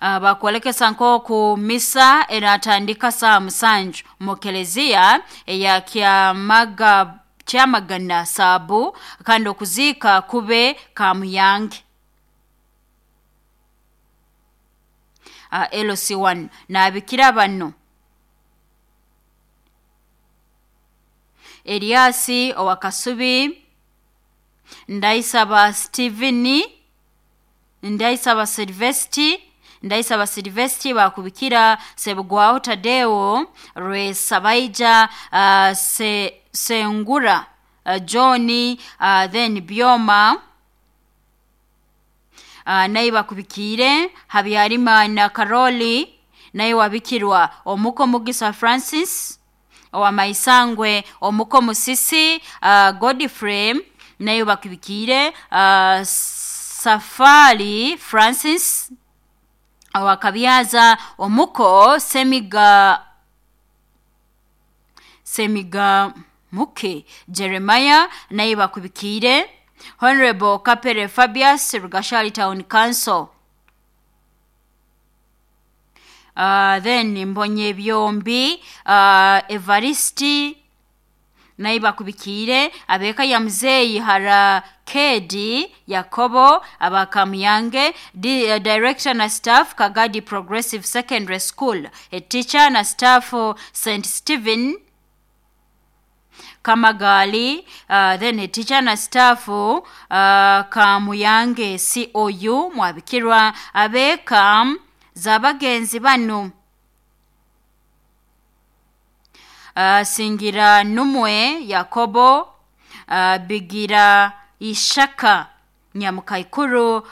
Bakwolekesa nk'oku misa eratandika saa 7 mu kelezia eya Kyamagana Saabu, kandi okuziika kube Kamuyange. LC1 nabikira bano Eliasi owakasubi, Ndaisaba Steveni, Ndaisaba Silvesti, Ndaisaba Silvesti bakubikira Sebugwaho Tadeo, Rwesabaija, Sengura, John, then Byoma, naye bakubikire Habyarimana Karoli, naye wabikirwa Omuko Mugisa Francis owamaisangwe, Omuko Musisi, Godfrey, naye bakubikire Safari Francis owakabyaza, Omuko Semiga Muke Jeremiah, naye bakubikire Honorable Kapere Fabius, Rugashali Town Council. Then Mbonye Byombi, Evaristi, naye bakubikire abeka ya mzeyi Harakedi Yakobo abakamuyange, director na staff Kagadi Progressive Secondary School, a teacher na staff St Stephen Kamagali, then a teacher na staff Kamuyange COU mwabikirwa abeka zabagenzi bano Singira Numwe Yakobo, Bigira Ishaka Nyamukaikuru,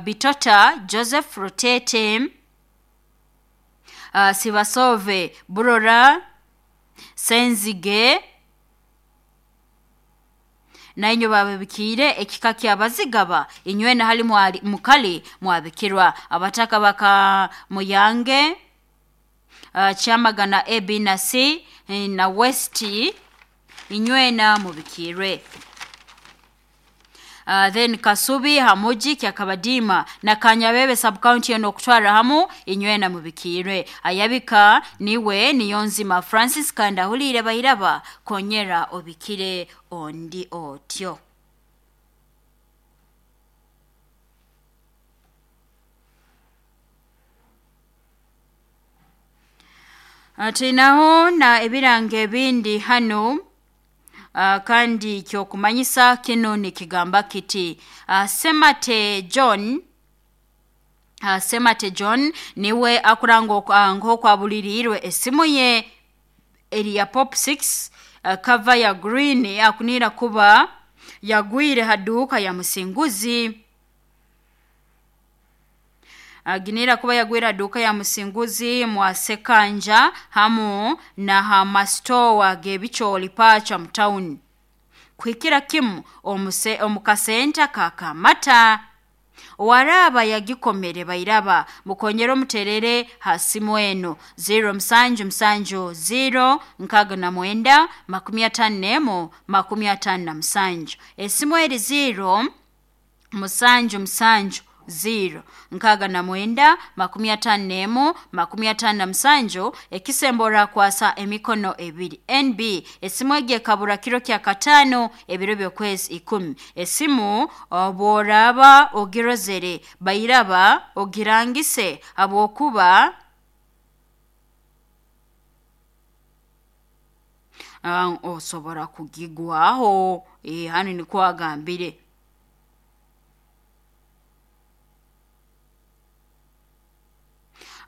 Bitota Joseph Rutete, Sibasove Burora Senzige, nainyo babikire ekika kyabazigaba inywena hali mukali mwabikirwa abataka baka Muyange, Kyamagana A B na C na West, inywena mubikirwe. Then Kasubi Hamuji Kyakabadima na Kanyabebe subcounty yono okutwara hamu inywena mubikirwe. Ayabika niwe Niyonzima Francis, kandi ahulire bairaba konyera obikire ondi otyo. Tulinaho na ebirango ebindi hano, kandi kyokumanyisa kino nikigamba kiti Semate John, Semate John niwe akuranga nk'okwabuliriirwe esimu ye eri ya Pop 6, cover ya green, akunira kuba yagwire haduka ya Musinguzi. Aginira kuba yagwira duka ya Musinguzi mwa Sekanja hamu na hamastowa gebicholi pacha mtown kuhikira kimu omukasenta kakamata waraba yagikomere bairaba mukonyero muterere hasimu eno 0 7 7 0 69 54 57. Esimu eri 0 7 7 0 69 54 57, ekisembora kwasa emikono ebiri. NB esimu egi ekabura kiro kya katano ebiro by'okwezi 10. Esimu obworaba ogirozere bairaba ogirangise habwokuba osobora kugigwaho. Hano nikwo agambire.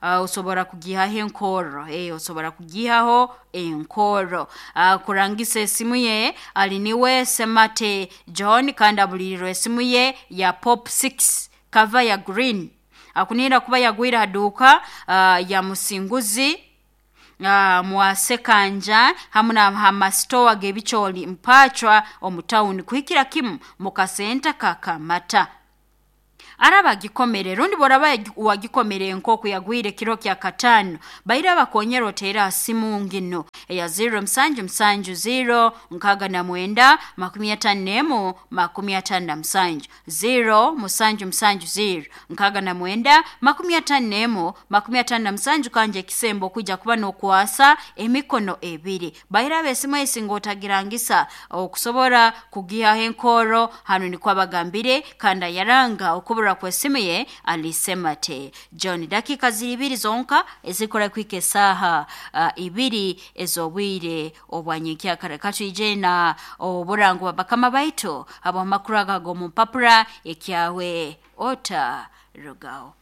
Osobora kugihaho enkoro, osobora kugihaho enkoro. Kurangisa esimu ye ali niwe Semate John, kandi abulirirwe esimu ye ya Pop 6 cover ya green, akunira kuba yagwira haduka ya Musinguzi mwasekanja hamu na hamasitowa gebicholi mpachwa omu town kuhikira kimu mukasenta kakamata. Araba agikomere rundi boraba wagikomere nk'oku yagwire kiro kya katano, baira bakonyera oteera simu ngino eya 0770 69 51 57, 0770 69 51 57. Kanje ekisembo okwijja kuba n'okwasa emikono ebiri. Baira abesimu esinga otagirangisa okusobora kugihaho enkoro. Hanu nikwo abagambire kandi ayaranga okubura kwesimu ye alisemate John. Dakika ziri ibiri zonka ezikora kwika esaaha ibiri ez'obwire obwanyenkyakara. Katwije na oburango bwa bakama baitu ab'amakuru aga g'omu mpapura ekyawe ota rugaho.